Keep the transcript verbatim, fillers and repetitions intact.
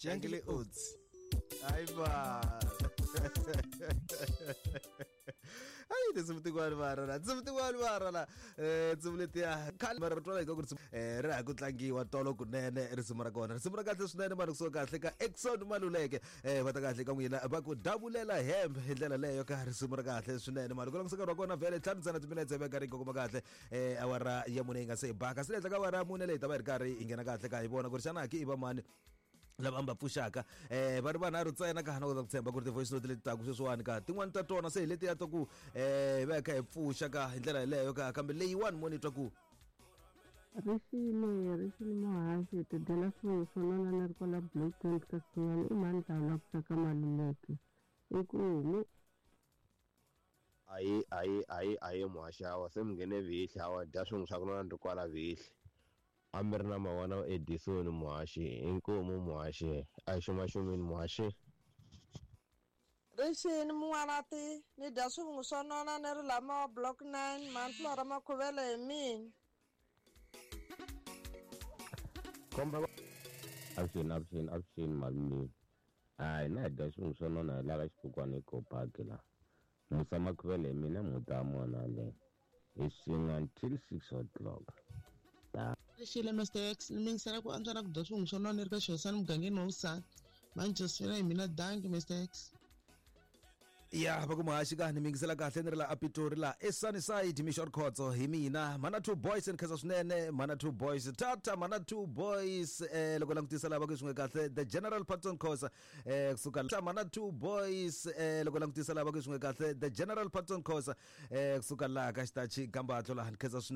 Jungle Oats. Hayi ba. Hayi tinsimu tin'wani mara la tinsimu tin'wani mara la eh tinsimu letiya khale mara ri twala hi ka ku risimu eh ri ha ku tlangiwa tolo kunene risimu ra kona risimu ra kahle swinene mara kusuka kahle ka Exxon Maluleke eh va ta kahle ka n'wina va ku davulela hembe hi ndlela leyo ka risimu ra kahle swinene mara ku langutisa nkarhi wa kona vhele ntlhanu ntsena timinetse va karhi yi kongoma kahle eh awara ya mune yi nga se baka se le henhla ka awara ya mune leyi ta va hi ri karhi hi nghena kahle ka hi vona ku ri xana ki i va mani lava va pfuxaka eh va ri vanharhu ntsena ka hana kota ku tshemba ku ri ti-voice note leti taku sweswiwani ka tin'wani ta tona se hi letiya ta ku eh hi va hi kha hi pfuxa ka hi ndlela yeleyo ka kambe leyiwani mo ni twa ku Rixile rixile muhaxi ti dyela swin'we swo nona ni ri kwala Block twenty ka Sinyani i mhani la ku ka Maluleke i ku mu ayi ayi ayi ayi muhaxi hawa se mi nghene vihli hawa dya swin'we swa ku nona ni ri kwala vihli a mi ri na mavona Edison muhaxi inkomu muhaxi a hi xumaxumini muhaxi Rixini mun'wanati ni dya swivungu swo nona ni ri lama wa block nine Manflora Makhuvele hi mina komba avuxeni avuxeni avuxeni malume hayi na hi dya swivungu swo nona hi lava xibukwana ekopaki la Musa Makhuvele hi mina muta mona le hi swin'we until six o'clock Rixile Mister X ni mingisela ku antswa na ku dya swivungu swo nona ni ri ka xihosana mugangeni wa Vusana Manchester hi mina danki Mister X ya va ku muhaxi ka ni mingisela kahle ni ri la apitori la esunnyside mishort khotso hi mina mana two boys ni khensa swinene mana two boys tata mana two boys eh loko langutisa lava ku swin'we kahle the general patton khosa eh kusuka la mana two boys eh loko langutisa lava ku swin'we kahle the general patton khosa eh kusuka la ka xitachi gambatlo la ni khensa swinene.